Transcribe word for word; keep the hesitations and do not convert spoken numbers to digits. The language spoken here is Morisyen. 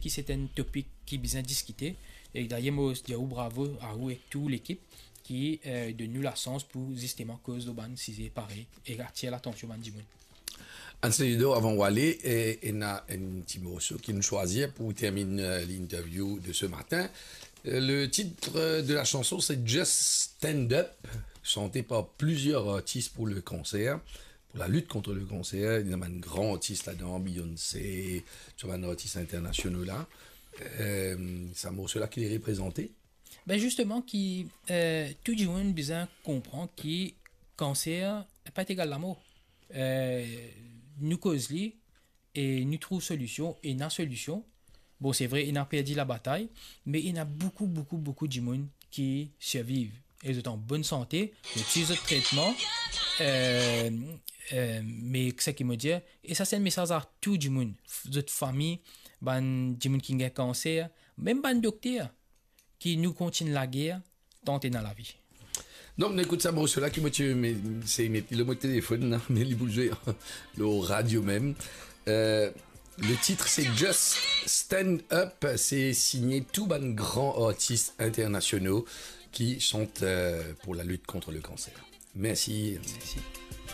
ki se enn topik ki bizin diskite. E dayer, mo dir ou bravo a ou ek tou lekip ki, eh, donn nou lasans pou zisteman koz lor bann size parey e atir latansion bann dimoun. Anselidor, avan ou ale, eh, ena enn ti morso ki nou swazir pou terminn, eh, l'interview de ce matin. Eh, le titre de la chanson, c'est Just Stand Up, chanté par plusieurs artistes pour le cancer, pour la lutte contre le cancer. Ena bann gran artis ladan, Beyoncé, tou bann artis internasional la. Eh, sa morso la ki li reprezante? Ben, zisteman, ki, eh, tou dimoun bizin konpran ki kanser pa egal lamor. Eh, nou koz li e nou trouv solision, e ena solision. Bon, se vre, ena perdi labatay, me ena boukou, boukou, boukou dimoun ki sirviv. E zot an bonn sante, zot swiv zot tretman. Eh, eh, me seki mo dir, e sa se enn mesaz a tou dimoun, f-, zot fami, bann dimoun ki gagn kanser, mem bann dokter, ki nou kontign lager, tant ena lavi. Donk, nou ekout sa morso la ki mo ti, me, se met li lor mo telefonn la, me li pou zwe lor radio mem. Eh, le titre, c'est Just Stand Up. Se signe tou bann gran artis internasional ki chante, eh, pour la lutte contre le cancer. Mersi. Mersi.